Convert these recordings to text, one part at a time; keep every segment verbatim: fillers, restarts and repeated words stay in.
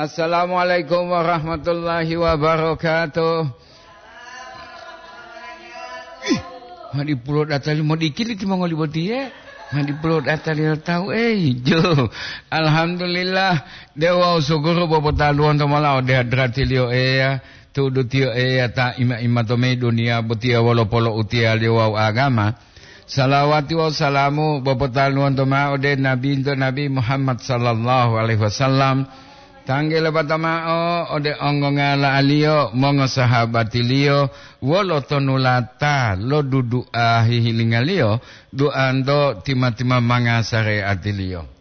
Assalamualaikum warahmatullahi wabarakatuh. Ih, ma dipulo datali modikili timongoli botiye. Ma dipulo datali tahu, eh, jo. Alhamdulillah, dewa usukuru bobotaluwonto mola ode hadratiliyo Eya, tu'udu tiyo Eya ta ima-ima to mayi duniya botiya wolo polo'utiyaliyo wawu agama. Salawati wawu salamu bopotaluwonto ma'o ode Nabinto Nabi Muhammad sallallahu alaihi wasallam, tangge lopata ma'o ode ongongala'aliyo, mongosahabatiliyo, wolo tonulata lo dudu'a hihilingaliyo, du'anto tima-tima manga sare'atiliyo.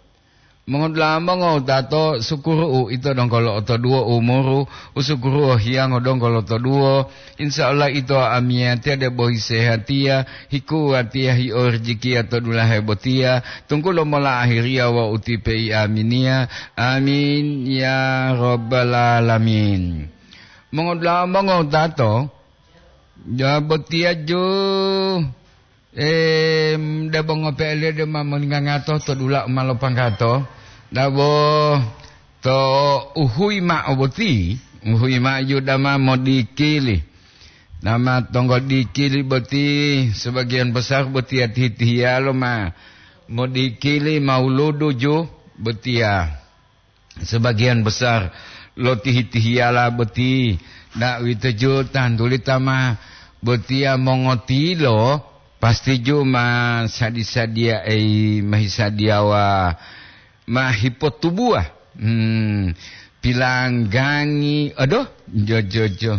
Mongodula'a mongowutato, sukuru'u ito donggo lo'otoduwo umuru, usukuru'u hiyango donggo lotoduwo. Insya Allah ito amiyatiya debo hisehatiya, hikuwatiya, hiorijikiya to dulahe botiya, tunggulo mola ahiriya wawu utipe'i aminiya. Amin, ya Rabbal Alamin. Mongodula'a mongowutato, ja botiya ju. Em, debo ngope'eliyo dema moningangato to dula u ma lopanggato, dabo to uhuyi ma'o boti, uhuyi ma'o ju dama modikili. Dama tonggo dikili boti sebagian besar botiya tihi-tihiyalo ma modikili mauludu ju botiya. Sebagian besar lo tihi-tihiyala boti, da'uwitoju tantuli ta ma botiya mongotilo, pastiju ma sadi-sadiya ei mahisadiyawa ma hipotubuwa. Hmm, pilanggangi, aduh, jo, jo, jo.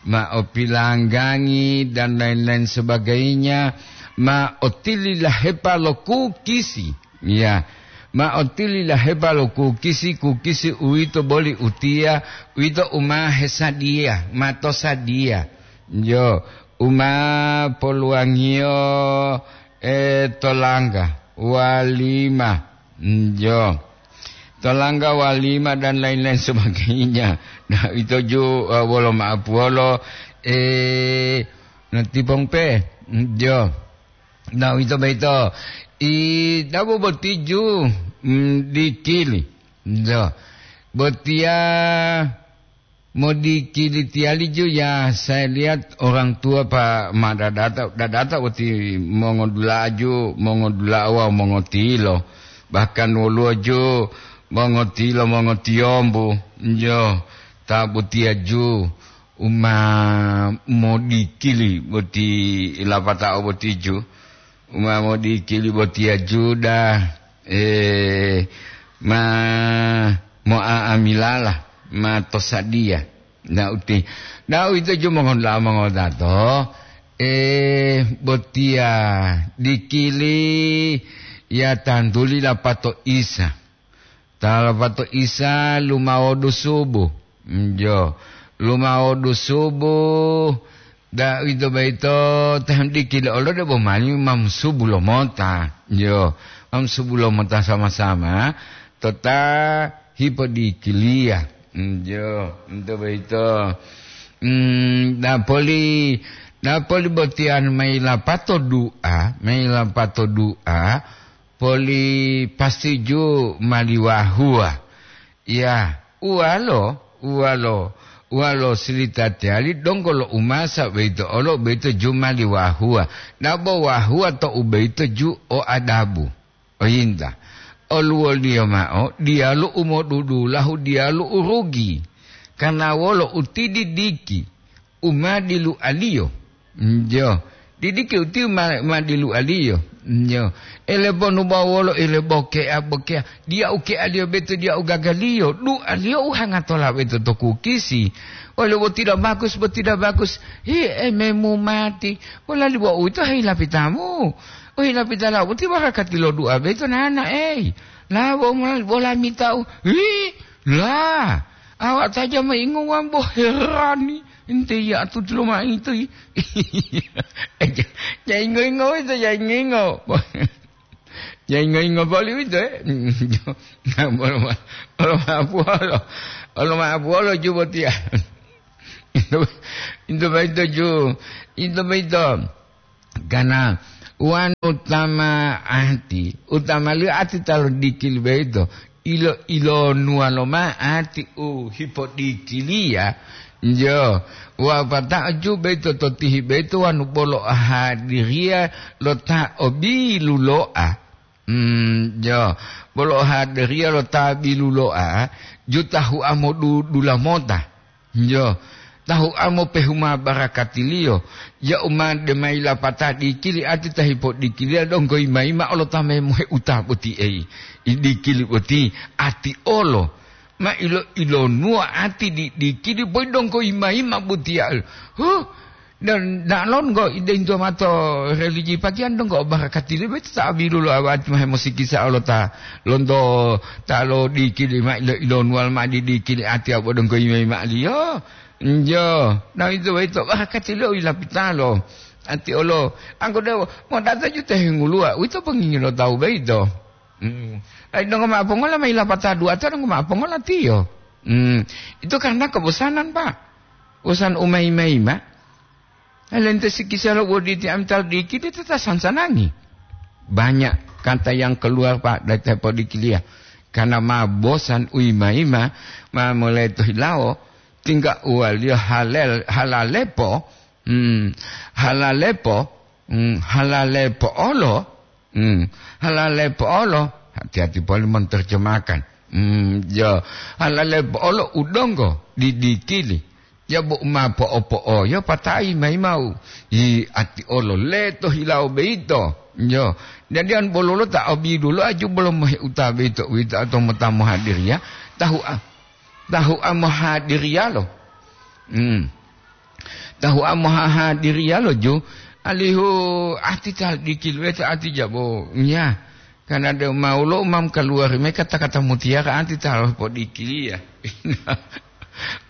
Ma opilanggangi dan lain-lain sebagainya, ma otililahepa lo kukisi. Ya, ma otililahepa lo kukisi, kukisi uwito boli utiya, uwito u ma hesadiya, ma tosadiya. Jo, u ma poluwangiyo, e, tolangga walima. Jo. Tolangga walima dan lain-lain sebagainya. Nah, ito ju, e, wolo ma'apuwolo, e, natipong pe. Jo. Nah, uwito boyito, i, dabo boti ju, mm, dikili. Do. Botiya modikili tiyali ju ya, saya lihat orang tua pa ma dadata, dadata boti mongodula'aju, mongodula'a wawu mongotilo. Bahkan woluwo ju mongotilo, mongotiyombu, jo, ta botiya ju u ma modikili boti lapatao boti ju. U ma modikili botiya ju da, e, ma mo'a'amilala, ma tosadiya. Na uti, na uwito ju mongoda'a mongodato, e, botiya dikili ya tantuli lapato Isa. Ta lapato Isa lumawodu subu. Njo, lumawodu subu, da'uwito boyito ta hemdikili olo debo mali ma mosubu lomota. Njo, ma mosubu lomota sama-sama, tota hipodikiliya. Njo, ito boyito. Mm, napoli, napoli botiyan mayi lapato du'a, mayi lapato du'a, poli pastiju mali wahuwa. Ya, uwalo, uwalo, uwalo silita tiyali donggo lo umasa boyito olo boyito ju mali wahuwa. Dabo wahuwa to u boyito ju o adabu. Oyinta. Oluwoliyo ma'o, diyalu u modudulahu, diyalu u rugi. Karna wolo u tididiki, u ma dilualiyo. Njo. Didiki uti ma, ma dilualiyo. Njo. Eleponu bawolo, eleboke'a, boke'a. Diya uke'aliyo beto, diya ugagaliyo. Du'aliyo uhangatola beto to kukisi. Wolo botida bagus, botida bagus. Hi, ememu mati. Wolali bo uwito hei lapitamu. Ohilapita lau boti barakati lo du'a boyito nana, ei. La, bo, bo lamita'u. Hi, la. Awak saja meingo wambo herani. Ente ya tutulo ma itu. Jaingo-ingo itu, jaingo-ingo. Jaingo-ingo boli itu, eh. Nah, bolo ma, bolo ma apuolo. Bolo ma apuolo ju botiya. Itu, itu baito ju. Itu baito. Karena wanu utama ati, utamaliyo ati ta lodikili boyito, Ilo-ilonuwa loma'ati u hipodikiliya, njo, wa pata'o ju beito to tihi beito wanu bolo hadiriya lo ta o bilulo'a. Mm, jo, bolo hadiriya lo ta bilulo'a, ju tahu'a modudula mota. Njo, tahu'a mopehuma barakatiliyo, ya'u ma de ma yilapata dikili ati ta hipodikiliya donggo yima-yima olo ta memohe uta boti ei, i dikili boti ati olo. Ma ilo-ilonuwa ati di dikili boyi donggo yima-yima botiya. Huh, dan da'alon go ide into mato religi pagiyan donggo barakatiliyo boti ta bilulo'a ati ma hemosikisa olo ta lonto ta lo dikili ma ilo-ilonuwal ma di dikili ati abo donggo yima-yima'aliyo. Njo, na uwito boyito barakati lo yilapitalo. Ati olo, anggo dewo, modata ju te henguluwa, uwito pongingi lo tawu boyito. Hmm. Ai donggo ma'o pongola ma yilapata du'ata donggo ma'o pongola tiyo. Hmm. Itu karena kebosanan, Pak. Bosan umai-maima. Lente sikisalo woditi ami talu dikidi tata sansanangi. Banyak kata yang keluar, Pak, dari tepo dikiliya. Karena ma bosan uima-ima, ma mulai to hilawo, tingga uwaliyo halal, halalepo, hmm, halalepo, hmm, halalepo olo, hmm, halalepo olo, hati-hati poli menterjemahkan. Hmm, jo, halalepo olo udonggo didikili. Yabo u ma po'o-po'oyo patai mayi ma'o, yi ati olo leto hilawo boyito. Yo, jadi an bololo ta obidulo aju bolo moheuta boyito uwito atau mota mohadiriya, tahu a-, tahu a mohadiriyalo. Hmm. Tahu a mohahadiriyalo ju, alihu ati ta dikil weta ati jabo. Nya, karena de maulo umam kaluwari me kata-kata mutiara ati ta lo'o podikiliya.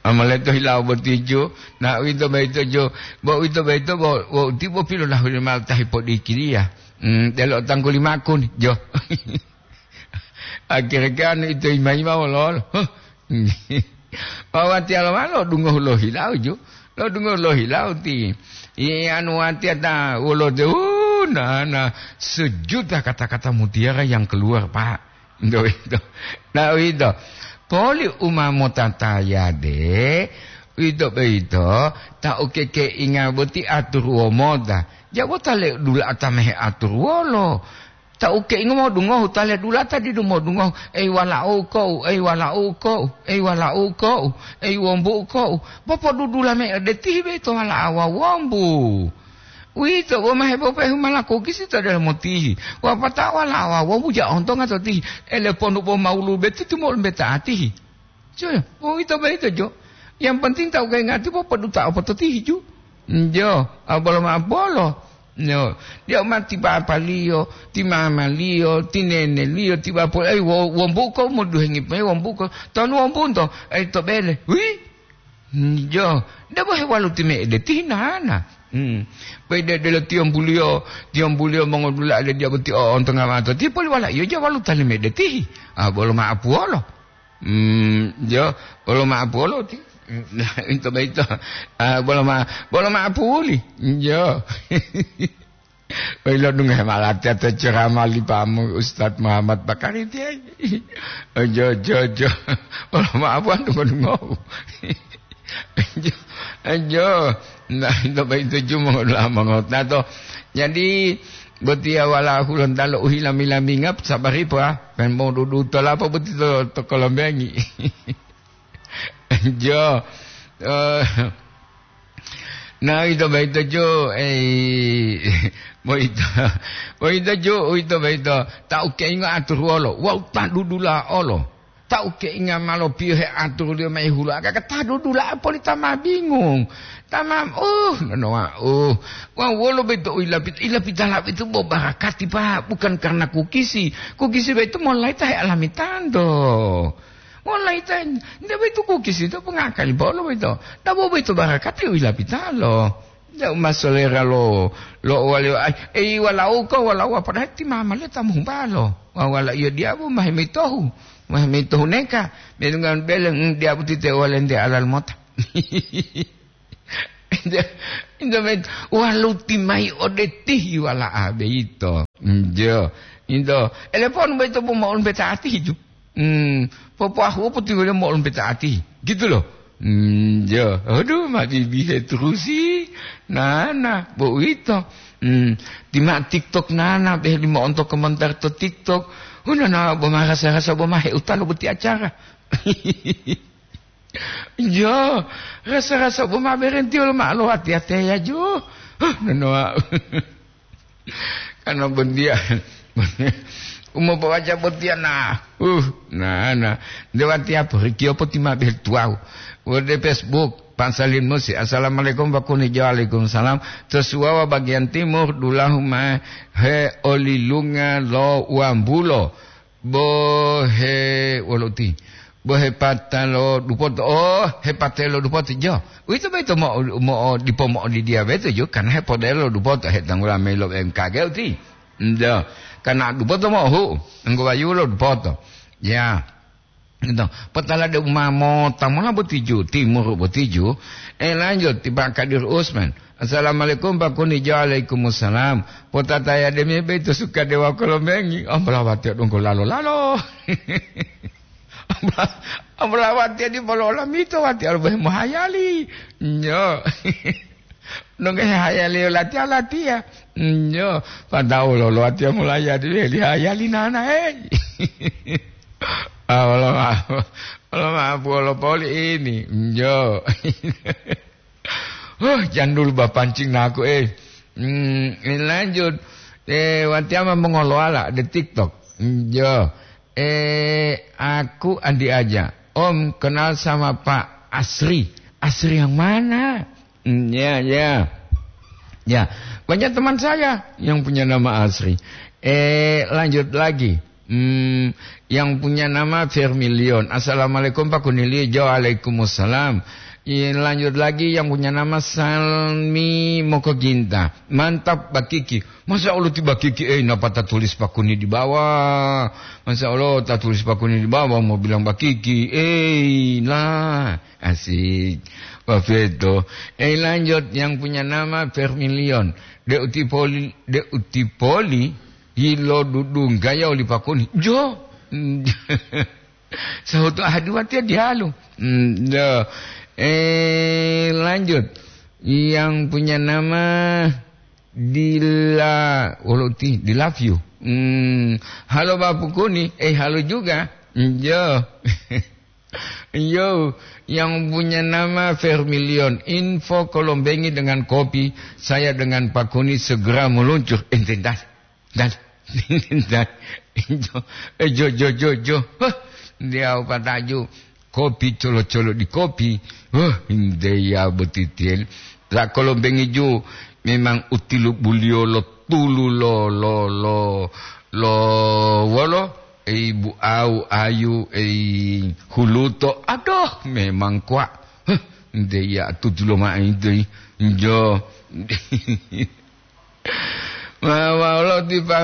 Amaleto hilawo boti ju, na uwito boyito ju, bo uwito boyito bo, bo uti bo pilolahuli mao ta hipodikiliya. Hmm, delo tangguli makun, jo. Akhire kan ito ima-ima wololo. Huh. Wawatiyalo ma lo'odungohu lohilau ju. Lo'odungohu lohilau ti. Iya, anu watiya ta wolote, uh, na, na, sejuta kata-kata mutiara yang keluar, Pak. Nto ito. Na uwito. Poli u ma motataya de, uwito boyito, ta ukekeinga boti aturuwo mota. Jabo ta le dula'a ta mehe aturuwolo. Ta ukeingo modungohu, ta ledulata didu modungohu, "Ei wala'u ko'u, ei wala'u ko'u, ei wala'u ko'u, ei wombu'u ko'u, popodudula mao de tihi boyito wala'a wawu wombu." Uwito bo ma hepopehu malaku kisi to delomo tihi, wapatao wala'a wawu wombu ja ontonga to tihi, eleponu bo mawulu beti tumolu mbeta atihi. Jo, uwito boyito jo. Yang penting ta ukengati popoduta opo to tihi ju. Jo, a bolo ma'o bolo. Yo, dia ma ti papaliyo, ti mamaliyo, ti neneliyo, ti bapol-, ei, wo-, wombuko moduhengi pe wombuko. Tonu wombunto, ei, to bele. Wi? Jo, debo hewalu ti me'ede tihi nana. Hmm. Pede delo tiyombuliyo, tiyombuliyo mongodula ade dia boti o ontonga mato. Ti poli wala iyo ja walu tali me'ede tihi. A bolo ma'o puwolo. Hmm, jo, bolo ma'o puwolo ti. Ito boyito. Ah, bolo ma-, bolo ma'o puli. Jo. Oi, lo dungohe malatiya to ceramah li pamu Ustaz Muhammad Bakari tiye. Ojo, ojo, ojo. Wolo ma'o buwanto podungohu. Ojo, ojo. Nah, ito boyito ju mongodu'a mongotata. Jadi, botiya wala'u hulontalo u hilami-laminga, sabari po, ah. Pen modudu tolapa boti to, to kolombengi. Jo. Eh, na, uwito boyito ju, ei, boyito, boyito ju, uwito boyito, ta ukeingo aturuwolo, wawu ta dudula'a olo. Ta ukeinga ma lopiyohe aturuliyo mayi hulu'a, ka ta dudula'a poli ta ma bingung. Ta ma, uh, nonowa, uh. Wawu wolo boyito u yilapit-, yilapitala boyito bo barakati, Pak, bukan karena kukisi. Kukisi boyito molayi ta healamitanto. Molayi ta, nte boyito kukisi to pongakali bolo boyito. Dabo boyito barakati u yilapitalo. Deu ma solera lo, lo waliyo, ai, ei, walauko, walauwa, padahal ti mamaliyo ta mohubalo. Wa-, walaiyo diyabu ma hemitohu, ma hemitohu neka. Medungga bele, mm, diyabu ti te walente alal mota. Into, into met-, waluti mayi ode tihi wala'a boyito. Njo. Into, elepon boyito bo mo'on beta atihi ju. Hmm, popoahu'o potiwaliyo mo'olompeta ati, gitu loh. Hmm, ya, aduh, ma bibihe terusi. Nah, nah, bo uwito. Hmm, tima TikTok nana, beh limo onto komentar to TikTok. Hunana bo ma rasa-rasa bo ma heutalo boti acara. Iya, rasa-rasa bo ma berenti wolo ma lo hati-hati ya jo. Huh, nanoa. Karena bondia. Umopo waca botia nah. Uh, nah, nah. Dewatia porikio poti ma beh tuau. Wode Facebook, Pak Salim Musi. Assalamualaikum, Pak Kuni. Waalaikumsalam. Tosuawa bagian timur, dulahu ma he olilunga lo wambulo. Bo he wolo uti. Bo hepata lo dupoto. Oh, hepate lo dupoto. Jo. Uwito boyito mo, mo, dipo mo'odidiya boyito jo. Karena hepodelo lo dupoto. Hetanggula mayi lo M K G uti. Ndo. Karena dupoto mo'ohu. Enggo wayu lo dupoto. Ya. Gitu. Potala de uma mota mola botiju, timur botiju. Eh, lanjut, ti Pak Kadir Usman. Assalamualaikum, Pak Kuni. Waalaikumsalam. Potataya demi beto suka dewa kolombengi. Ambalawati donggo lalo-lalo. Ambalawati di polola mito wati albahe mohayali. Nyo. Donggo hayali latiya-latiya. Nyo. Padahal lo latiya mulai adi weli hayali nana, hei. Ah, wala ma-, wala maapu wala poli ini. Njo. Huh, jandul bapancing naku, eh. Hmm, ini lanjut. Eh, watiama mengolowala di TikTok. Njo. Eh, aku Andi aja. Om kenal sama Pak Asri. Asri yang mana? Hmm, ya, ya. Ya, banyak teman saya yang punya nama Asri. Eh, lanjut lagi. Hmm, yang punya nama Vermilion. Assalamualaikum, Pak Kunili. Waalaikumsalam. Iya, lanjut lagi yang punya nama Salmi Mokoginta. Mantap, Bakiki. Masya Allah, ti Bakiki, eh, napa ta tulis Pak Kuni di bawah? Masya Allah, ta tulis Pak Kuni di bawah, mau bilang Bakiki. Eh, lah, asik. Wah, beto. Eh, lanjut, yang punya nama Vermilion. De utipoli, de utipoli, hilo dudung gaya oli Pak Kuni. Jo. Sahutu ahadi watiya dihalu. Hmm, do. Eh, lanjut. Yang punya nama Dila, wolo ti, Di Love You. Hmm, halo Bapu Kuni. Eh, halo juga. Hmm, yo. Yo, yang punya nama Vermilion. Info Kolombengi dengan kopi. Saya dengan Pak Kuni segera meluncur. Ente dah. Dan, dan, jo, eh, jo, jo, jo, jo. Huh, dia pataju. Kopi colo-colo di kopi. Huh, ndeya botitiel. La Kolombengi ju memang utilu bulio lo tulu lo, lo, lo, lo, wolo, ei bu au ayu, ei huluto. Aduh, memang kuat. Huh, ndeya tutulo mai doi. Jo. Ma, ma wolo ti pa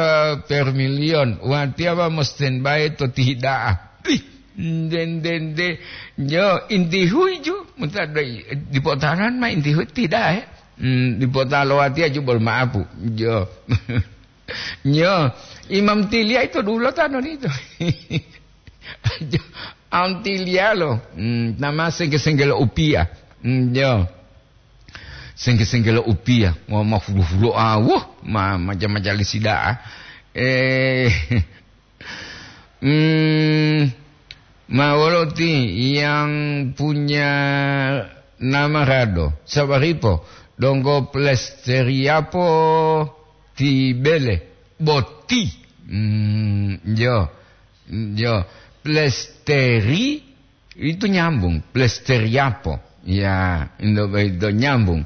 Vermilion, watiya ma mo standby to ti hida'a. Ih, nde, nde, nde. Jo, inti hui ju, muta doi, dipotaran ma inti hui ti hida'a, eh. Hmm, dipotalo watiya ju bol maapu. Jo. Jo, Imam Tilia itu dulu tano itu. Jo, Antilia lo. Hmm, nama sengke-sengke lo upia. Hmm, jo. Sengke-sengke lo upia, ma, ma hulo-hulo, ah, wuh, ma, maja-majalisi da'a. Eh, hmm, ma wolo ti yang punya nama Rado, Sabaripo, donggo plesteriapo ti bele, boti. Hmm, jo, jo, plesteri Itu nyambung, plesteriapo. Ya, indo, indo nyambung.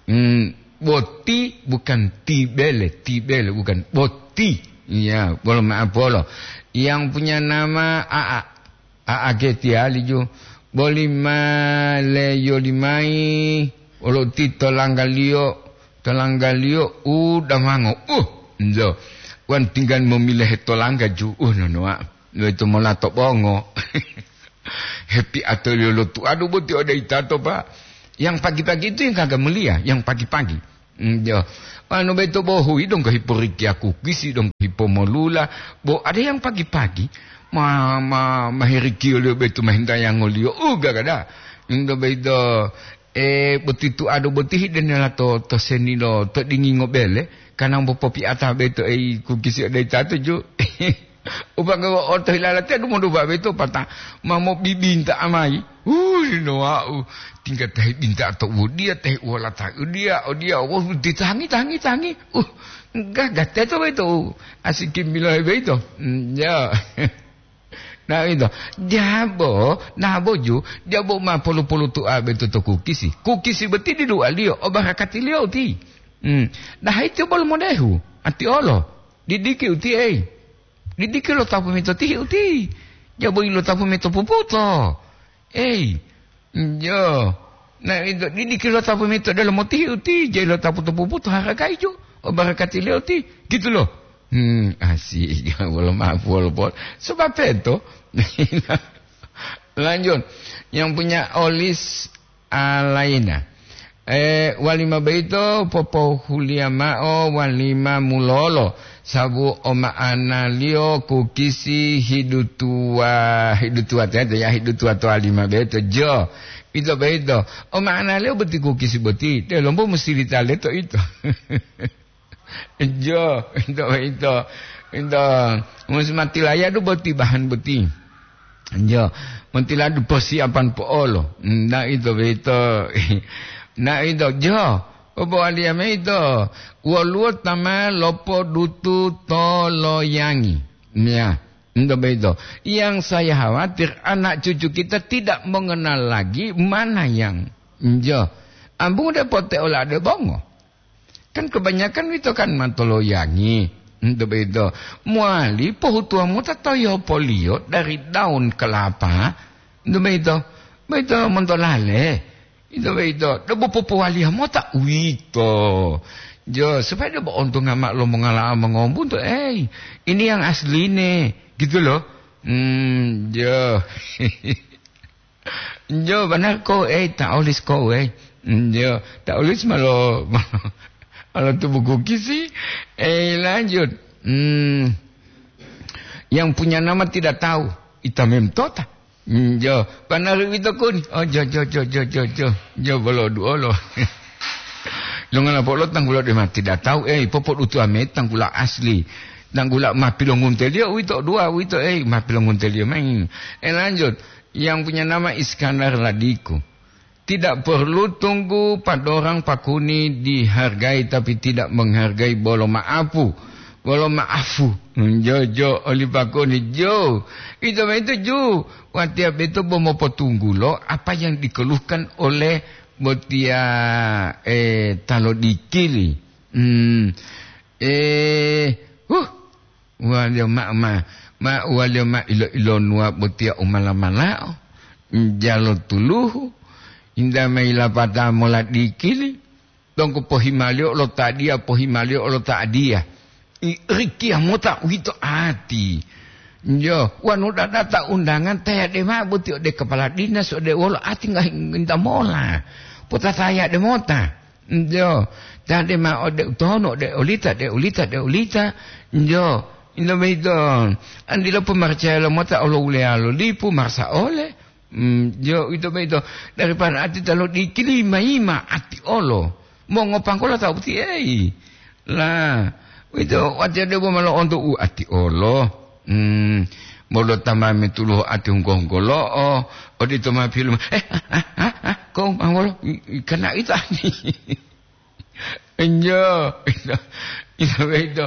Hmm, boti bukan tibele, tibele bukan, boti. Ya, bolo maaf bolo. Yang punya nama Aa. Aa ke tiali ju. Boli ma le yoli mai, olo ti tolanggaliyo, tolanggaliyo u damango. Uh, indo. Wan tinggal memilehe tolangga ju. Uh, nonoa. Lo itu mola to bongo. Hepi atau lo tuadu boti ode itato, Pak. Yang pagi-pagi itu yang kagak mulia, yang pagi-pagi. Hmm, yo. Anu beto bohu idong ke hiporikiaku, kisi dong hipomolula. Bo ada yang pagi-pagi, Ma, ma, maherikiyoliyo boyito mahintayangoliyo. Uh, gagada. Into boyito, eh, boti tuado boti hidenela to, to senilo to dingingo bele, kana mopopiata boyito ei kukisi ode tato ju. Upaka oto hilalate dumodupa boyito pata ma mobibinta amayi. Uh, linoau. Tingga tahi binta to udiya, tahi uwala tahi udiya, udiya, wah, ditangi, tangi, tangi. Uh, gagah teto boyito. Asiki milohe boyito. Mm, ya. Nah, ito. Jabo, nah, boju, jabo ma polu-polu tua betu to kukisi. Kukisi boti dilualiyo, o barakatiliyo uti. Hmm. Nah, ito bol modehu, ati olo. Didiki uti, ei. Didiki lo tapu mito tihi uti. Jabo ilo tapu mito puputo. Ei. Jo. Nah, ito, didiki lo tapu mito dalam motihi uti, jai lo tapu to puputo haragaijo. O barakatiliyo uti. Gitu loh. Hmm, asik. Wolo maaf, wolo pol. Sebab itu. Lanjut. Yang punya olis alaina. Eh, walima boyito popohuliya mao walima mulolo, sabu o ma'analiyo kukisi hidutuwa, hidutuwa teto ya, hidutuwa to walima boyito. Jo, ito boyito. O ma'analiyo boti kukisi boti, delombo musilita leto ito. Jo, ito, ito, ito. Musi matilayadu boti bahan boti. Jo, matiladu persiapan po'olo. Nah, ito, ito. Nah, ito, jo. Opo waliya mayi ito. Woluwo ta ma lopodutu toloyangi. Ya, ito, ito. Yang saya khawatir anak cucu kita tidak mengenal lagi mana yang. Jo. Ambung de pote olade bongo. Kan kebanyakan wito kan matoloyangi. Ento boyito, mowali pohutuwa mota toyopoliyo dari daun kelapa. Ento boyito, boyito montolale. Ito boyito, debo popowaliya mota uwito. Jo, supaya debo ontonga ma'o lo mongala'a mongombunto, "Ei, ini yang asline," gitu loh. Hmm, jo. Jo, banari kou, ei, ta olis kou, ei. Jo, ta olis malo, malo tubuku kisi. Eh, lanjut. Hmm. Yang punya nama tidak tahu. Ita mem tota. Hmm, jo, banari wito kun. Oh, jo, jo, jo, jo, jo, jo. Jo, bolo duolo. Lo ngala polo tanggulo de ma tidak tahu, eh, popo dutu ame tanggula asli. Tanggula ma pilongunteliyo wito dua wito, eh, ma pilongunteliyo main. Eh, lanjut. Yang punya nama Iskandar Ladiku. Tidak perlu tunggu padorang pakuni dihargai tapi tidak menghargai bolo maapu. Bolo maafu. Jojo oli pakuni jo. Itu itu ju. Watiya beto bo mopotunggulo apa yang dikeluhkan oleh botiya, eh, talo dikili. Hmm. Eh, huh. Waliyo mao ma, ma waliyo ma ilo-ilonuwa botiya u mala-malao, njalo tuluhu, inda ma yilapata mola dikili, donggo pohimaliyo lo ta diya, pohimaliyo lo ta diya. I, rikiya mota uwito ati. Jo, wanu dadata undangan tayade mao boti ode kepala dinas, ode wolo ati ngahi nginta mola. Potatayade mota. Njo, tade ma ode utono, ode olita, ode olita, ode olita. Njo, ino boyito, andilo pomaracaya lomota olo uleya lo lipu, marasa ole. Mm, jo, ito boyito, daripada ati talo dikili mayima ati olo. Mongopanggola ta boti, ei. La, uwito, watiya debo ma lo'onto u ati olo. Hmm, bolo ta ma metuluhu ati hunggo-hunggolo'o, odito ma pilu, eh, ah, ah, ah, ah, kong, ah, wolo, i, i, kana ito ani. Enjo, ito, ito, ito.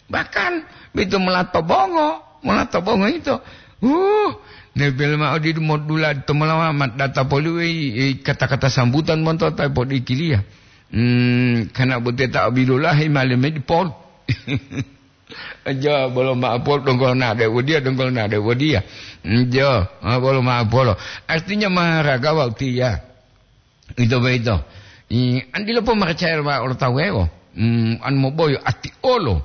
Bahkan, ito mola to bongo, mola to bongo ito. Uh, nebel ma odidu modula to molawa ma data poli wei, i, kata-kata sambutan monto ta podikiliya. Hmm, kana bote ta bilulahi male medipol. Aja bolo ma'apol donggo nade wodiya, donggo nade wodiya. Njo, ah, bolo ma'apolo. Artinya maharaga wau tiya. Ito boyito. I, andilo pomaracaya wa olo tawewo. Hmm, an moboyo ati olo.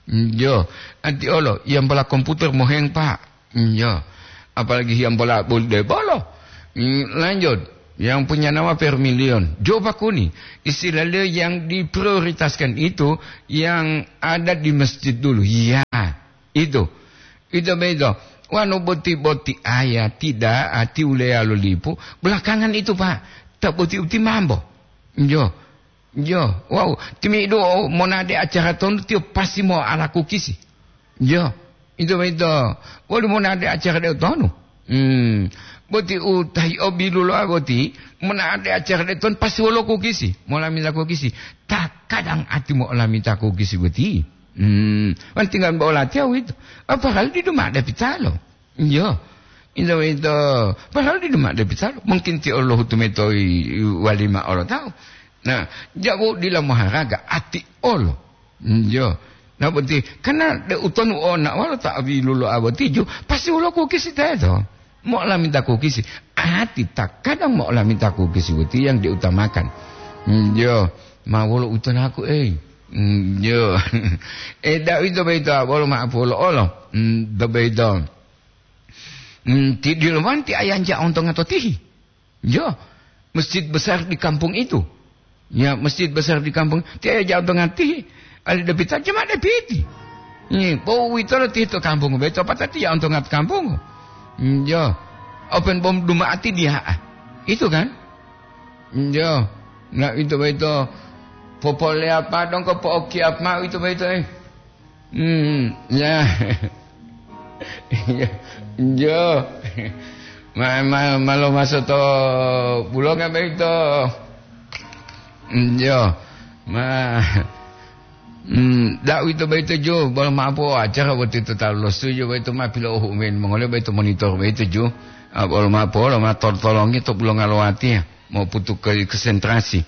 Njo, ati olo. Yang bola komputer moheng, Pak. Iya, apalagi yang bola bol-, de bolo. Hmm, lanjut, yang punya nama Vermilion, jo pakuni, istilahnya yang diprioritaskan itu yang ada di masjid dulu. Iya, itu. Itu begitu. Wanu boti-boti aya tidak ati uleya lo lipu, belakangan itu, Pak, tak boti uti mambo. Jo, jo, wow, timidu monade acara tonu tiyo pasti mo ala kukisi. Jo, itu beto. Wali monade acara de tonu. Hmm, boti utahi obilu lo boti, monade acara de tonu pasti wolo kukisi, molamila kukisi. Tak kadang ati mo olamita kukisi boti. Hmm, wan tinggal bola tiaw itu. Apa hal di duma de pitalo? Iyo. Ito, ito. Padahal di demak de pisalo, mungkin ti Allahu tumetoi walima olo tahu. Nah, jago dila moharaga ati olo. Iyo. Nah, berarti karena de utonu ona walo ta abilulo abotiju, pasti ulo kukisi teto. Mo lamita kukisi. Ati takadang mo lamita kukisi boti yang diutamakan. Iyo. Ma wolo utonaku, eh. Iyo. Eh, da ito beito, bolo ma apolo olo. Hmm, do beito. Hmm, ti dilomanti ayanja ontonga to tihi. Jo, masjid besar di kampung itu. Ya, masjid besar di kampung. Ti ayanja ontonga tihi. Ali depita, cuma depiti. Ni, po witolo tihi to kampung. Beto patati ya ontonga to kampung. Hmm, jo. Open bom duma ati dia. Itu kan? Hmm, jo. Nah, itu beto. Popole apa dong ko pooki apa itu beto, eh. Hmm, ya. Ya, jo. Ma, ma, malo maso to bulonga beito. Hmm, jo. Ma, hmm, da uwito beito jo, bolo mapo acara boti to talu lo setuju beito ma pilo uhu men mongole beito monitor beito jo. Ah, bolo mapo lo ma tolong-tolongi to bulonga lo wati ya. Mau putu ke konsentrasi.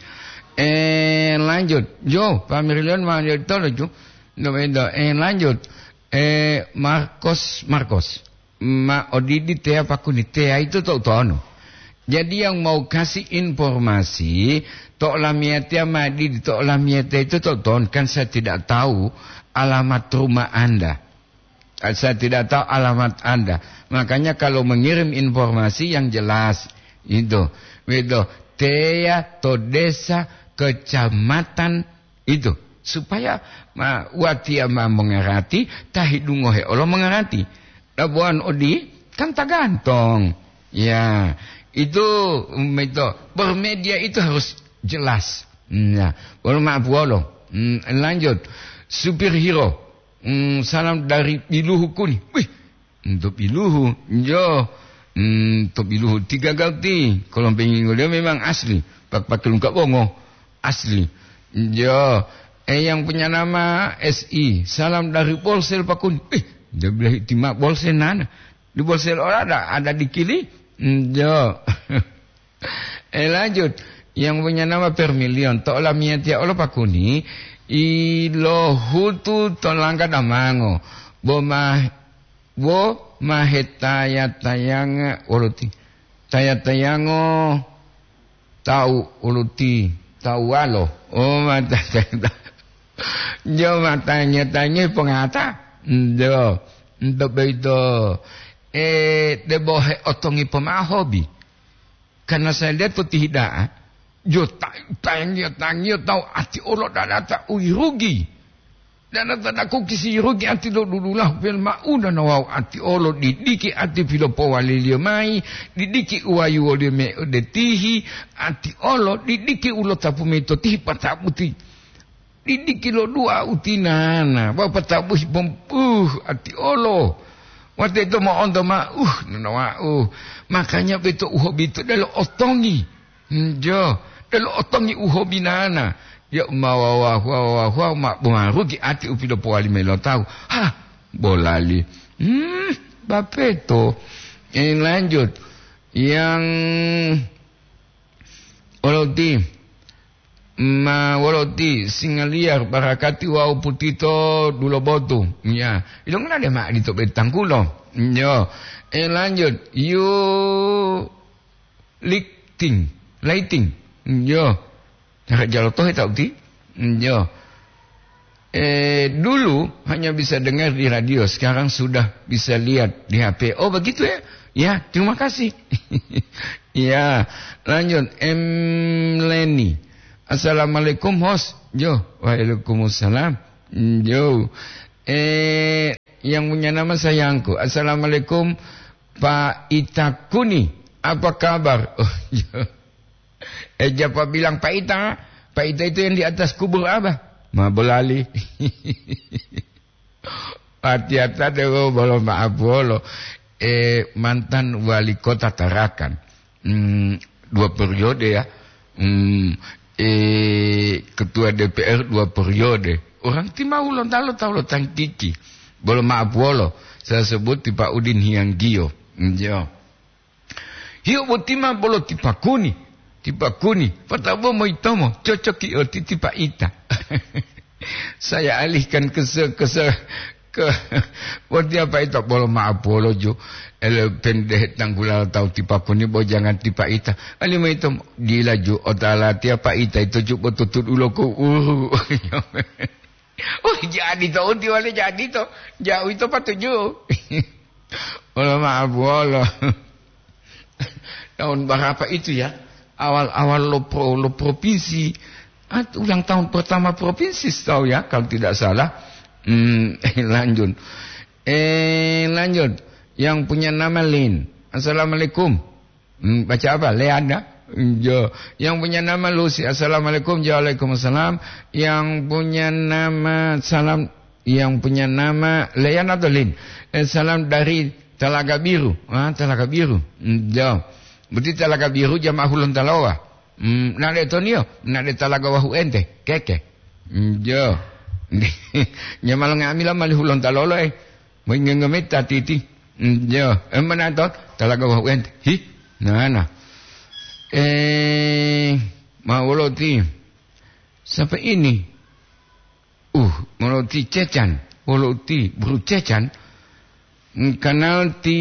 Eh, lanjut. Jo, Pak Mirlion ma jo tolo jo. Nggak beda. Eh, lanjut. Eh, Marcos, Marcos. Ma odidi tea pakuni. Tea itu to tono. Jadi yang mau kasih informasi, to lamia tea ma didi to lamia tea itu to tono. Kan saya tidak tahu alamat rumah Anda. Saya tidak tahu alamat Anda. Makanya kalau mengirim informasi yang jelas, itu. Begitu. Tea to desa, kecamatan, itu. Supaya ma, watiya ma mengerti, ta hidungohe olo mengerti. Labuan odi, kan tergantung. Ya, itu, mm, itu. Bermedia itu harus jelas. Hmm, ya. Wolo maaf wolo. Hmm, lanjut. Supir Hiro. Hmm, salam dari Biluhu Kuni. Wih, untuk Biluhu. Jo. Hmm, untuk Biluhu tiga gauti. Kalau pengen dia memang asli. Pak pakai lengkap bongo. Asli. Jo. Eh, yang punya nama S I. Salam dari Bolsel Pakun. Eh, dia bilang tima Bolsel nana. Di Bolsel ora ada, ada di kili. Hmm, jo. Eh, lanjut. Yang punya nama Permilion. To olamiyatiya olo pakuni, ilohutu to langga damango. Bo ma, bo ma hetaya-tayanga woluti. Taya-tayango tau woluti. Tau walo. Oh, mata, jo matanya-tanya pengata. Jo. Untuk begitu. Eh, debo he otongi pemahobi. Karena saya lihat to tihida'a, jo ta-, tangiyo-tangiyo tawu ati olo dadata uyirugi. Dadata daku kisi yirugi ati lo dudula pel mauna na wawu ati olo didiki ati pilopowaliliyo mayi, didiki uwayuwoliyo me ode tihi, ati olo didiki ulotapu mayi to tihi patabuti. Didiki lo dua utinana, wawu patabuhi pompuh ati olo. Wate ito mo'onto ma, uh, nonowa'u. Makanya beto uhobi to delo otongi. Njo, delo otongi uhobi nana. Ya ma wawahu, wawahu, ma bongarugi ati upilopowali melo tawu. Ha, bolali. Hmm, bapeto. Ini lanjut. Yang oloti. Ma wolo ti singaliyar barakati wawu putito dulobotu. Ya, ilongana de ma adito betangkulo. Yo. Eh, lanjut. You lighting, lighting. Yo. Cara jalotohe tau ti? Yo. Eh, dulu hanya bisa dengar di radio, sekarang sudah bisa lihat di H P. Oh, begitu ya? Ya, terima kasih. Ya, lanjut. M Leni. Assalamualaikum, host. Jo, waalaikumsalam. Jo. Eh, yang punya nama sayangku. "Assalamualaikum, Pak Ita Kuni. Apa kabar?" Oh, iya. Eh, japa bilang, "Pak Ita, Pak Ita itu yang di atas kubur apa?" Ma bolali. Ati-ata dewo bolo maaf wolo. Eh, mantan wali kota Tarakan. Hmm, dua periode ya. Hmm, eh, ketua D P R dua periode. Orang timau lontalo tahu lo tangkiki. Bolo maaf wolo. Saya sebut ti Pak Udin Hianggio. Hmm, yo. Hiyo boti ma bolo ti Pakuni, ti Pakuni, patabo moyitomo, cocoki oti ti Pak Ita. Saya alihkan ke se-, ke se-, ke, boti apa ito bolo maapolo ju, ele pendehe tanggula tahu ti Pakuni bo jangan ti Pak Ita. Ali moyitomo, dila ju, otala tiya Pak Ita ito ju botutud ulo ko uru. Oh, jadi to, uti wale jadi to. Jauh itu patuju. Wala maaf, wala. Tahun berapa itu ya? Awal-awal lo pro-, lo provinsi. Ah, ulang tahun pertama provinsi, tahu ya, kalau tidak salah. Hmm, lanjut. Eh, lanjut. Yang punya nama Lin. "Assalamualaikum." Hmm, baca apa? Leanda? Jo. Yang punya nama Lucy. "Assalamualaikum." Jo, "Waalaikumsalam." Yang punya nama salam, yang punya nama Lean atau Lin? Eh, salam dari Talaga Biru. Ah, Talaga Biru. Hmm, jo. Berarti Talaga Biru jamaah Hulontalowa. Hmm, nade tonio, nade Talaga Wahu ente. Keke. Hmm, jo. Nyamalo ngamila mali Hulontalo lo, eh. Moingenge meta titi. Mm, yo, emana to, talaga wawu ente. Hi, nana. Eh, ma wolo ti. Sapa ini? Uh, wolo ti Cecan. Wolo ti Buru Cecan. Mm, kenal ti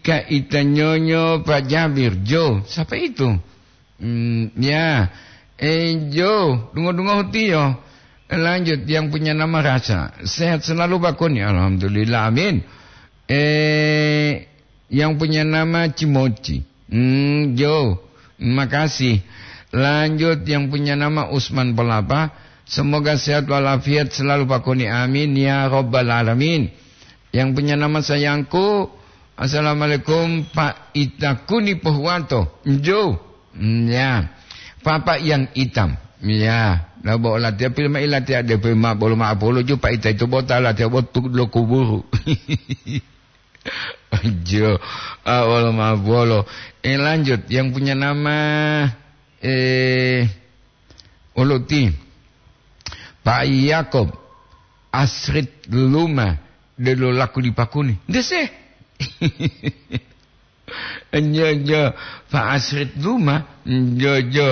Kak Ita Nyonyo Pak Jabir. Jo, siapa itu? Hmm, ya. Eh, Jo, dungo-dungo hutiyo. Lanjut, yang punya nama Rasa. Sehat selalu, Pak Kuni. Alhamdulillah, amin. Eh, yang punya nama Cimoci. Hmm, Jo, makasih. Lanjut, yang punya nama Usman Pelapa. Semoga sehat walafiat selalu, Pak Kuni. Amin, ya Rabbal Alamin. Yang punya nama sayangku, "Assalamualaikum, Pak Ita Kuni Pohuwato." Njo. Mm, ya. Papa yang hitam. Ya. Lah, bo latihan film ilatihan D P ma bolo ma apolo ju Pak Ita itu bota latihan botu lo kuburu. Jo. Ah, bolo ma bolo. Eh, lanjut. Yang punya nama, eh, Uluti, Pak Yakob, Asrit Luma, delo laku di Pakuni. Dese. Njo, njo, Pak Asrit Luma, njo, njo.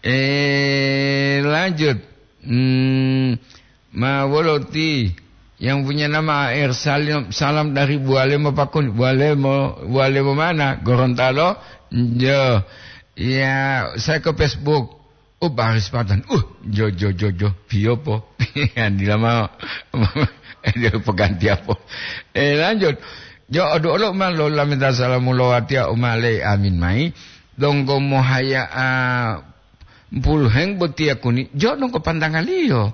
Eh, lanjut. Hmm, Ma wolo ti yang punya nama A R Salim, salam dari Bualemo Pakuni. Bualemo, Bualemo mana? Gorontalo? Jo. Ya, saya ke Facebook. Oh, baris patan. Uh, jo, jo, jo, jo. Piyopo. Andila mau. Dia peganti apa? Eh, lanjut. Jo, aduh, Allah, ma lo lamenta salamu lo watia umale amin mai. Donggo mohaya, ah, puluheng botiya kuni. Jo, donggo pantangaliyo.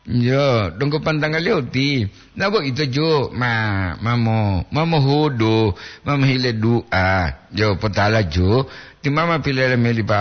Yo, donggo pantangaliyo ti. Nabo ito ju ma, mamo, mamohudu, mamohile du'a. Yo, potala ju, ti mama pilele me lipa,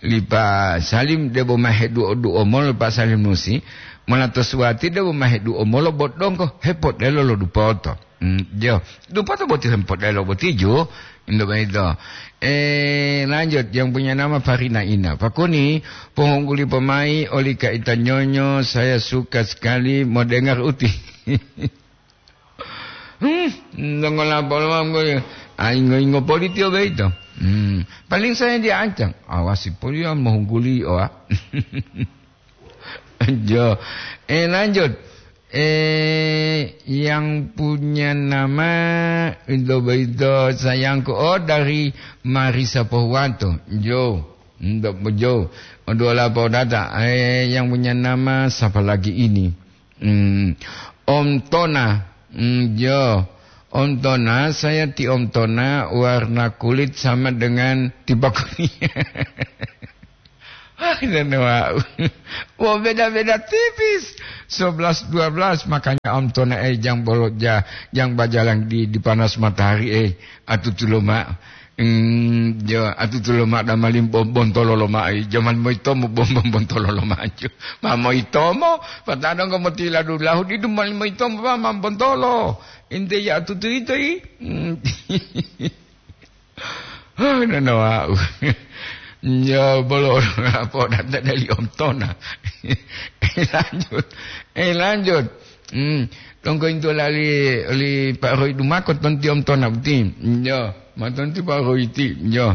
lipa Salim debo mahe du'o-du'o molo pa Salim nusi, mona to suwati debo mahe du'o molo bo donggo hepodelo lo dupoto. Hmm, jo. Dupoto boti hempodelo boti ju. Indo boyito. Eh, lanjut, yang punya nama Farina Ina. Pakuni, pohongguli pomai oli Kak Ita Nyonyo, saya suka sekali mau dengar uti. Hmm, dongolapo lomam ko. Ah, ingo-ingo politi o boyito. Hmm, paling saya diancam. Awasi poli ya mohungguli o, ah. Jo. Eh, lanjut. Eh, yang punya nama itu, itu sayangku. Oh, dari Marisa Pohuwato. Jo. Untuk Jo. Untuk apa data? Eh, yang punya nama siapa lagi ini? Hmm. Om Tona. Hmm, jo. Om Tona, saya ti Om Tona, warna kulit sama dengan tipe kuning. Ah, nene wau. Wo beda-beda tipis. Sebelas dua belas, makanya om tona, eh, jang bolo ja, jang bajalang di, di panas matahari, eh, atutu loma. Hmm, jo, atutu loma da malim bom-, bontolo loma, eh, jaman moitomo bom-, bom-, bontolo loma jo. Ma moitomo, patadong ko motila dulahu di dumal moitomo pa mam bontolo. Inte ya atutu ito, i. Hmm. Oh, nana wau. Ya, bolo apa data dari om tona. Eh, lanjut. Eh, lanjut. Hmm. Tongko into lali, li Pak Roy Dumako tonti om tona boti. Ya, ma tonti Pak Roy ti. Ya.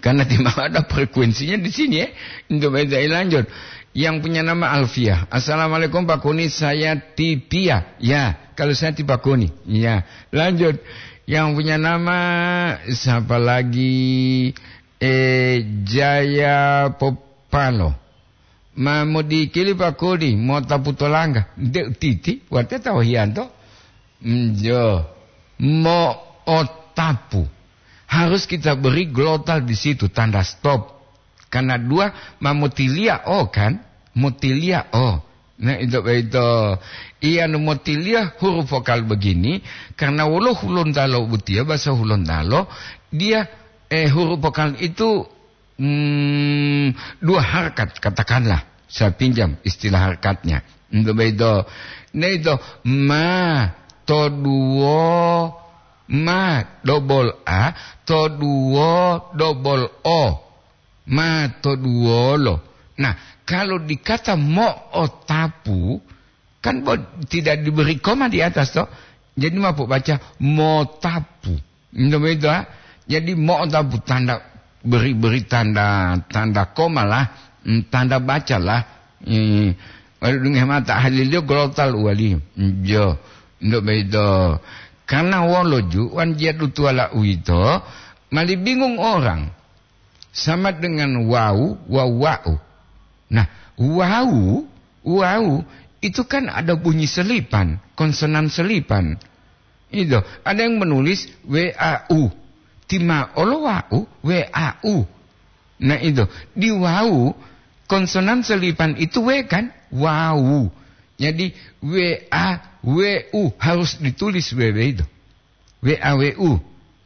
Karena tidak ada frekuensinya di sini, ya. Untuk baca, eh, lanjut. Yang punya nama Alfiah. "Assalamualaikum, Pak Kuni, saya Tipia." Ya, kalau saya Tipakuni. Ya, lanjut. Yang punya nama siapa lagi? Eh, Jaya Popalo. "Ma modikili Pak Kuni, mo'otapu to langga." Nde titi, wate tawahiyanto. Njo. Mo'otapu. Harus kita beri glotal di situ, tanda stop. Karena dua, ma motiliya o kan? Motiliya o. Nah, itu, itu. Iya, nu motiliya huruf vokal begini, karena wolo Hulontalo butiya, bahasa Hulontalo, dia, eh, huruf vokal itu, hmm, dua harkat, katakanlah. Saya pinjam istilah harkatnya. Itu, itu. Nah, itu, ma, to duo, ma, double A, to duo, double O. Ma to duwolo. Nah, kalau dikata mo'otapu, kan bo-, tidak diberi koma di atas, toh. Jadi, ma pobaca mo'otapu. Nto begitu, ha? Jadi, mo'otapu tanda beri, beri tanda, tanda koma lah, mm, tanda baca lah. Hmm. Walu dunge mata haliliyo glotal uwaliyo. Jo, nto begitu. Karena wolo ju, wan jiyadu tuwala uwito, mali bingung orang. Sama dengan wau, wau, wau. Nah, wau, wau itu kan ada bunyi selipan, konsonan selipan. Itu, ada yang menulis W A U. Timaolo wau, W A U. Nah, itu, di wau, konsonan selipan itu W kan? Wau. Jadi, W A W U harus ditulis W W itu. W A W U.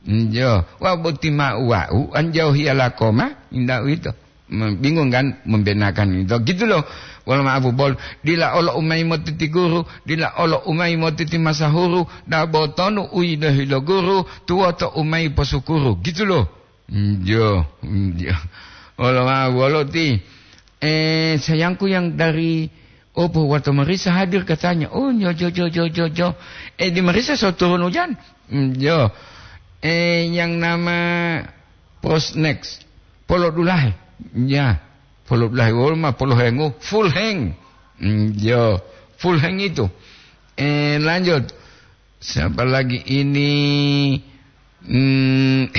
Njo, wa boti ma wau, anjau hiyala koma, inda uwito. Mem-, bingung kan membenakan itu. Gitu loh. Wala maapu bol, dila olo umai motiti guru, dila olo umai motiti masahuru, da botonu uyi do hilo guru, tuwoto umai posukuru. Gitu loh. Njo, njo. Wala maapu bolo ti. Eh, sayangku yang dari Opo wato Marisa hadir katanya. Oh, nyo, jo, jo, jo, jo, jo. Eh, di Marisa so turun hujan? Hmm, jo. Eh, yang nama Prosnex. Polo dulahe. Ya. Polo dulahe. Wol ma polo hengu. Full hang. Hmm, jo. Full hang itu. Eh, lanjut. Siapa lagi ini? Hmm.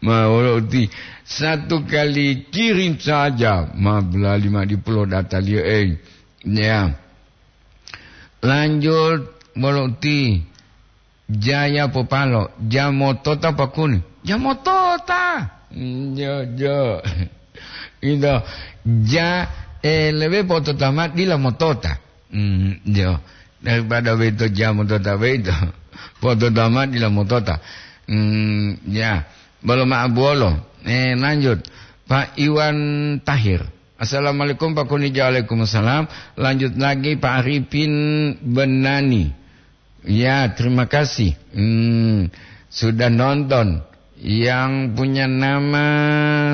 Ma wolo uti, satu kali kirim saja, ma bulali ma dipulo dataliyo, eh. Ya. Lanjut, wolo uti, Jaya Popalo, jamotota pakuni. Jamotota. Hmm, jo, jo. Ito, ja, eh, lebe potota ma dila motota. Hmm, jo. Daripada weto jamu tota weto. Potota ma dila motota. Hmm, ya. Bolo ma abuolo. Eh, lanjut. Pak Iwan Tahir. Assalamualaikum, Pak Kuni. Waalaikumsalam. Lanjut lagi, Pak Arifin Benani. Ya, terima kasih. Hmm, sudah nonton. Yang punya nama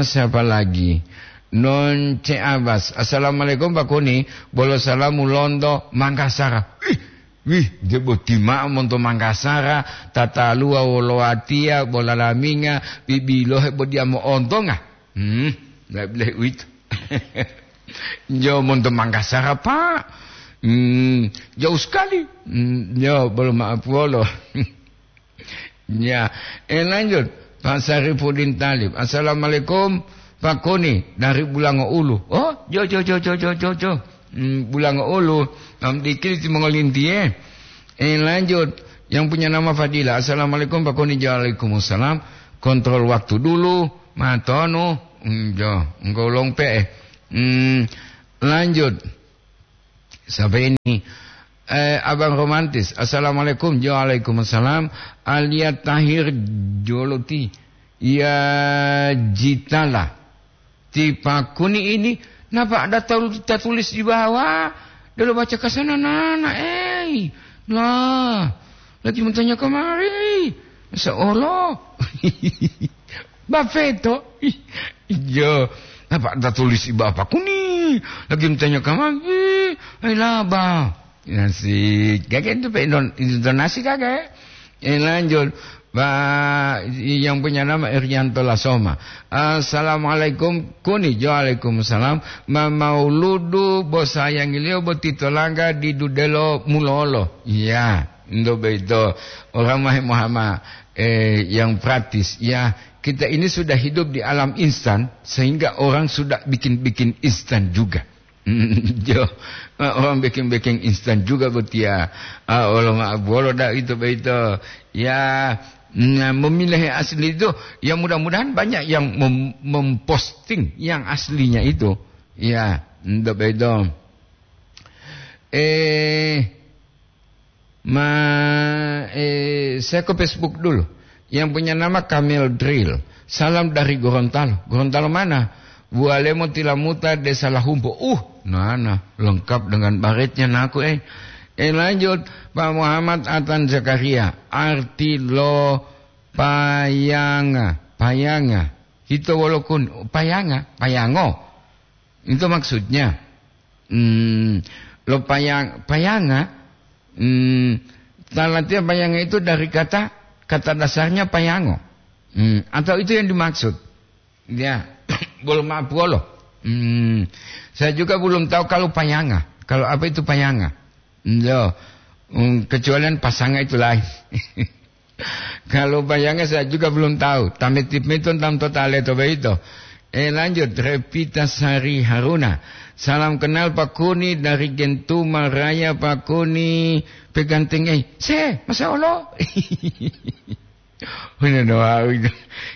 siapa lagi? Non C Abbas. "Assalamualaikum, Pak Kuni. Bolo salamu lonto Mangkasara." Ih, wih, debo tima monto Mangkasara, tataluwa wolo watiya, bola laminga, bibilohe bo diya mo'ontonga. Hmm, nggak boleh uwito. Jo monto Mangkasara, Pak. Hmm, jauh sekali. Hmm, jo, bolo maaf wolo. Ya, eh, lanjut. Pak Sarifudin Talib. "Assalamualaikum, Pak Kuni, dari Bulango Ulu." Oh, jo, jo, jo, jo, jo, jo, jo. Hmm, Bulango Ulu. Nam dikili ti mongolintiye. Eh, lanjut. Yang punya nama Fadila. "Assalamualaikum, Pak Kuni." "Waalaikumsalam." Kontrol waktu dulu. Matonu. Hmm, jo, engkau long pe'e. Hmm, lanjut. Sampai ini. Eh, Abang Romantis. Assalamualaikum. Jo, waalaikumsalam. Alia Tahir Joloti. Ya, Jitala. Ti Pakuni ini, napa ada tul-, tatulis di bawah? Delo baca ka sana nana, ei. Lah, lagi bertanya kemari. Seolah. Bafeto. Iya. Napa ada tulis di bawah Pakuni? Lagi bertanya kemari. Ei, laba. Nasi, kagak itu pe indon-, intonasi kagak. Eh, lanjut. Pak, yang punya nama Irianto Lasoma. "Assalamualaikum, Kuni." "Waalaikumsalam." "Ma mauludu bo sayangiliyo bo titolangga di dudelo mulolo." Iya, ndo beito. Orang mahe Muhammad, eh, yang praktis. Ya, kita ini sudah hidup di alam instan, sehingga orang sudah bikin-bikin instan juga. Jo, orang bikin-bikin instan juga botiya. Ah, wolo ma'o bolo da ito boyito. Ya, nah, memilah yang asli itu, ya mudah-mudahan banyak yang mem-, memposting yang aslinya itu. Ya, ito boyito. Eh, Ma, eh, saya ke Facebook dulu. Yang punya nama Kamel Drill. "Salam dari Gorontalo." "Gorontalo mana?" "Bualemo Tilamuta, Desa Lahumpo." Uh, nana, lengkap dengan baretnya naku, eh. Eh, lanjut, Pak Muhammad Atan Zakaria. "Arti lo payanga, payanga. Ito wolokun, payanga, payango." Itu maksudnya. Hmm, lo payang-, payanga, hmm, ta latihan payanga itu dari kata, kata dasarnya payango. Hmm, atau itu yang dimaksud. Ya, belum apa lo. Hmm, saya juga belum tahu kalau payanga. Kalau apa itu payanga? Lo, hmm, kecuali pasanga itu lain. Kalau bayangnya saya juga belum tahu. Tamit-timiton tam tota leto boyito. Eh, lanjut, Revita Sari Haruna. "Salam kenal Pak Kuni dari Gentuma Raya, Pak Kuni." Peganteng, eh. Se, masa Allah? Wina doa, wina.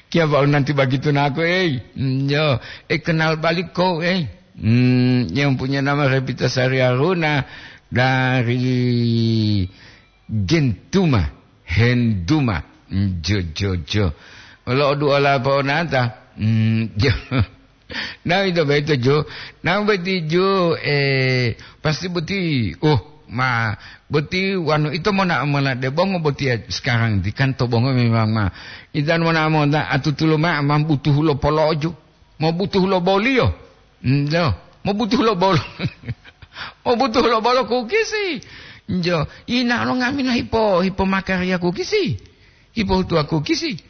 Kia Pak nanti begitu naku, eh. Hmm, yo. Eh, kenal balik kau, eh. Hmm, yang punya nama Revita Sari Haruna dari Gentuma, henduma. Jo, jo, jo. Wolo odu ola po'onata. Mm, jo. Nah, ito boyito, jo. Nah, boti, jo, eh, pasti boti, oh, ma, boti wanu ito mona, mona de bongo boti ya sekarang di kan to bongo memang ma. Itan mona, mona atutulo ma, ma butuh lo poloju. Mo butuh lo boliyo. Njo, mo butuh lo bolo. Mo butuh lo bolo kukisi. Njo, ina lo ngamina hipo, hipo makarya kukisi. Hipo hutuwa kukisi.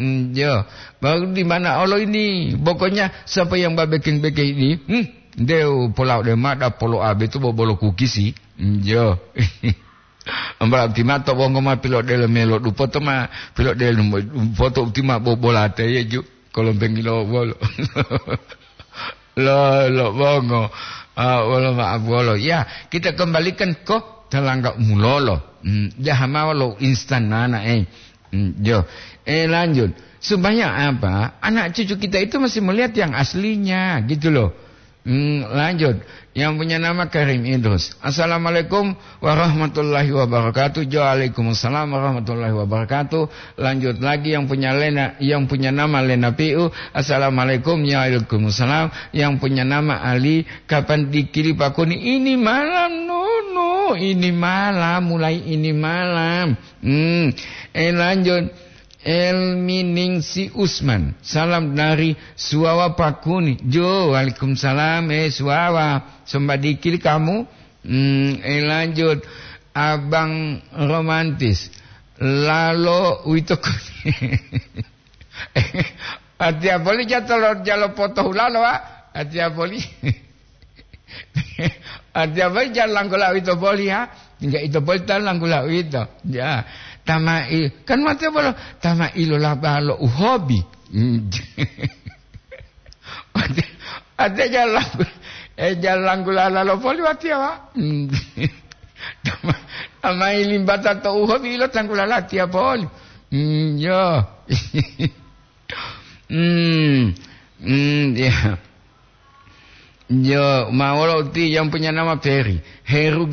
Njo, baru di mana olo ini? Pokoknya siapa yang babekeng-bekeng ini, hmm, deu polau de mada polo abe tu bobolo kukisi. Njo. Ambra'u ti ma to bongo ma pilodelo melo dupoto ma pilodelo dupoto uti ma bobolate yeju kolombeng lo wolo. Lo, lo bongo. Ah, wolo ma wolo. Ya, kita kembalikan ko talangga mulolo. Hmm, jaha mawalo instan nana, eh. Hmm, jo. Eh, lanjut. Supaya apa? Anak cucu kita itu masih melihat yang aslinya, gitu loh. Hmm, lanjut. Yang punya nama Karim Idrus. "Assalamualaikum warahmatullahi wabarakatuh." Waalaikumsalam warahmatullahi wabarakatuh. Lanjut lagi yang punya Lena, yang punya nama Lena Piu. "Assalamualaikum." Waalaikumsalam. Yang punya nama Ali. "Kapan dikili Pak Kuni?" Ini malam, Nunu. Ini malam, mulai ini malam. Hmm. Eh, lanjut. Elmi Ningsi Usman, "Salam dari Suwawa Pakuni." Jo, waalaikumsalam, eh, Suwawa. Sombadikil kamu. Hmm, eh, lanjut. Abang Romantis. Lalo uwito ko-, Atiya boli jatolo jalo potohulalo, wa. Atiya boli. Atiya boli jalo langgula uwito boli, ha. Tingga ito boli ta langgula uwito. Ya. Tama'i, kan watiya bolo, tama'i lo laba lo uhobi. Watiya, watiya jalo langgula, eh, jalo langgula lalo boli watiya, wa. Tama-, tama'i limbata to uhobi lo tanggula latiya boli. Hmm, yo. Hmm. Hmm, ya. Yo, ma wolo uti yang punya nama Peri. Heru